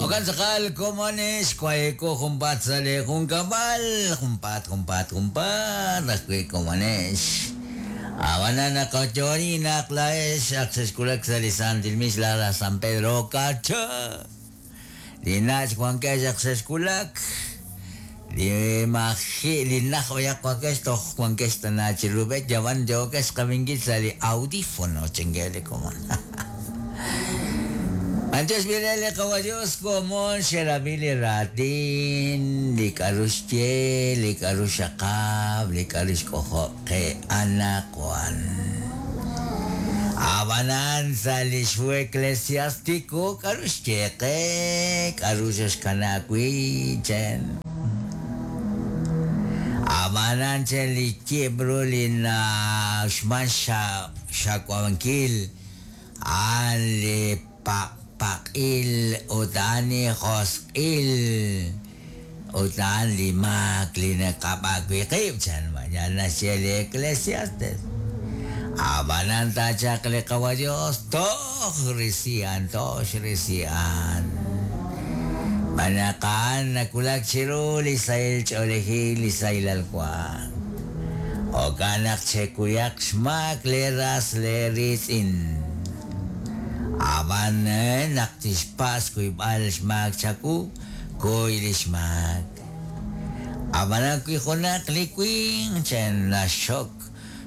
Jo'kan tz'aqal komonex waye'ko junpaat sa' lee junkab'al, junpaat, junpaat, junpaat ajwi' komonex. Ab'anan naqoyo'oni naq laa'ex ak xexwulak sa' li Santil Misa la San Pedro Cacha. Li nach' wankex ak xexwulak, li maji' li naj b'ayaq wankex toj wankex tana chiru b'e yab'an yookex qab'inkil sa' li audífono chankeb' li komon. Antes b'ire li Qawa' Dios komon xerab'i li raatin, li k'a'ru xye, li k'a'ru xxaqab', li k'a'ru xk'ojob' qe anaqwan. Ab'anan sa' li xhu Eclesiástico k'a'ru xye qe, k'a'ru xexkana wi' chen. Ab'anan chen li yib' ru li na'uxman xxaqab'ankil a'an li paqpaq'il ut a'an li josq'il ut a'an li maak li naqab'ak wi' qib' chan yal naxye li Eclesiastes. Ab'anan taachaq li Qawa' Dios toj risi'an, toj xrisi'an. Xb'aan naq a'an nawulak chiru li sahil ch'oolejil, li sahilal wank. Jo'kan naq chekuyaq xmaak leeras leeriitz'in. Ab'an naq tixpatz' xkuyb'al xmaak chawu, kuy li xmaak. Ab'anan wi junaq li winq naxxok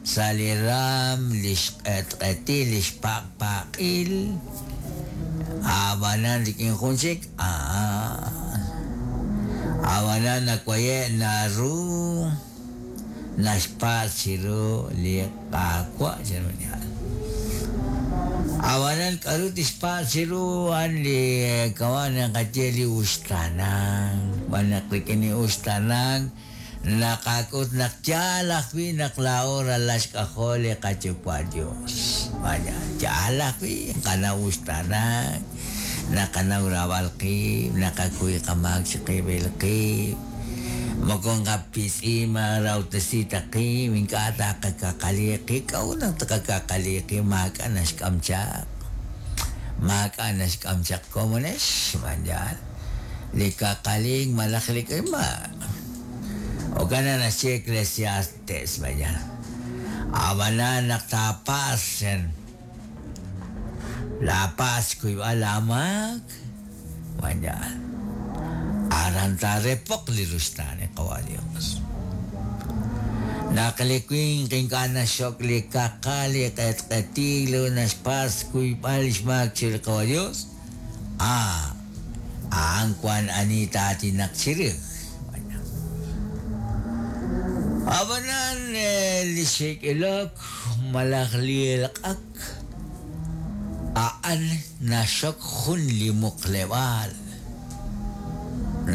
sa' li raanm li xq'etq'etil li xpaqpaq'il, ab'anan rik'in jun chik, a'an. Ab'anan nawaye' naru naxpatz' chiru li Qaawa' chiru li ha'an. Ab'anan k'aru tixpatz' chiru a'an li kama' naqaye li uxtaanank, xb'aan naq rik'in li uxtaanank naqak'ut naq yaal ajwi' naq laa'o ralal xk'ajol li qaYuwa' Dios. Vaya, yaal ajwi' nqanaw uxtaanank, naqanaw raab'al qib', naqakuy qamaak chiqib'il qib', moko nqapitz'i marawtesi ta qib', ink'a' taqakaqali qib'. K'a'ut naq taqakaqali qib'? Maak'a' naxk'am chaq. Maak'a' naxk'am chaq komonex, yaal. Li kaqalink malaj li k'ima. Jo'kan naq naxye Eclesiastes, vaya. Ab'anan naq taapatz' chan, laapatz' xkuyb'al laamaak, vaya. Aran taarepoq li ruxtaan li Qawa' Dios. Naq li winq ink'a' naxxok li kaqal, li q'etq'etil ut naxpatz' xkuyb'al xmaak chiru li Qawa' Dios, Ah, a'an wank ani taatinaq chirix. Ab'anan li xik'ilok malaj li elq'ak a'an naxxok jun li muqleb'aal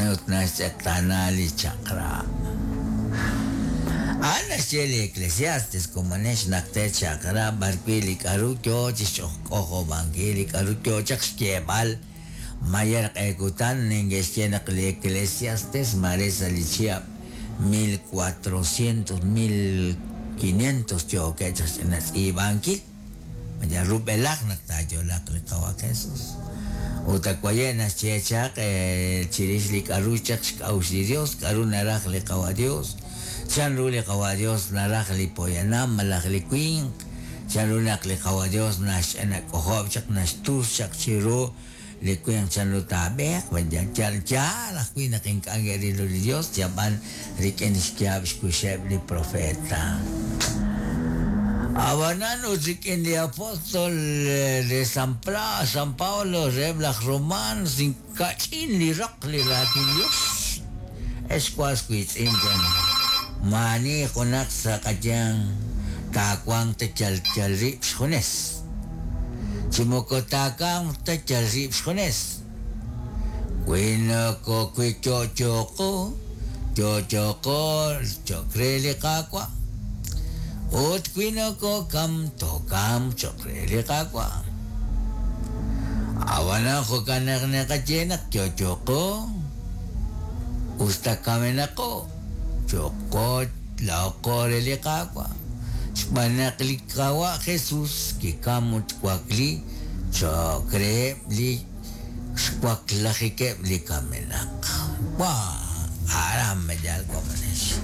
ut naxtz'eqtaana li chaq'rab'. A'an naxye li Eclesiastes komonex naq te chaq'rab' b'arwi' li k'aru yo chi xk'ojob'ankil li k'aru yo chaq xyeeb'al mayer q'e kutan neke'xye naq li Eclesiastes maare sa' li chihab' 1400 1500 yookeb' chaq xch'ina tz'iib'ankil yal rub'elaj naq taayo'laaq li Qawa' Jesus. Ut awaye' naxye chaq chirix li k'aru chaq xk'a'uxl li Dios, k'aru naraj li Qawa' Dios, chanru li Qawa' Dios naraj li poyanam malaj li winq, chanru naq li Qawa' Dios naxch'ina k'ojob' chaq naxtus chaq chiru li winq chanru taab'eeq, yal yaal ajwi' naq ink'a' ke'ril ru li Dios, yab'an rik'in xyaab' xkuxeb' li profeta. Ab'anan ut rik'in li apóstol de San Pla, San Pablo reheb' laj Romanos inka'ch'in li roq li raatin Dios. Ex was wiitz'in chan, maani junaq sa' qayanq taawanq ta yal yal rib' xjunes. Chi moko taakamq ta yal rib' xjunes. Wi noko wi yo'yoqo, yo'yoqo cho'q re li Qaawa'. Ut wi nokokam, tookamq cho'q re li Qaawa'. Ab'anan jo'kan naq naqaye naq yo'yoqo, usta kamenaqo, cho'qo laa'o re li Qaawa'. Xb'aan naq li Qaawa' Jesus kikam ut wakli cho'q reheb' li Xwaklajikeb' li kamenaq. Wa, aran mayal komonex.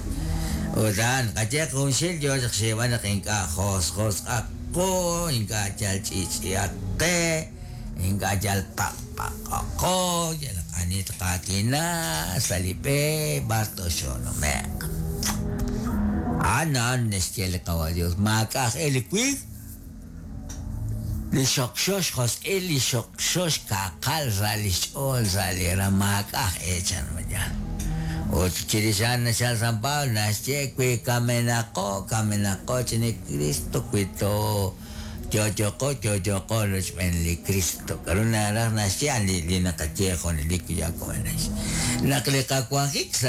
Ut a'an, qayeq junxil yo chaq xyeeb'al naq ink'a' josjosq'aq qu, ink'a' yal ch'i'ch'i'aq qe, ink'a' yal paqpaqaqo, yalaq ani tqaatina sa' li b'e b'ar toxoonume'q. A'an a'an naxye li Qawa' Dios, maak'a' aj e li winq li xokxo xjosq'il, li xokxo xkaqal sa' li xch'ool sa' li ra maak'a' aj e chan mayal. Ut chirix a'an nachal San Pablo naxye wi kamenaqo, kamenaqo chi ni Cristo wi to yo'yoqo, yo'yoqo rochb'een li Cristo. K'aru naraj naxye a'an li naqaye junelik ya komonex. Naq li qawanjik sa'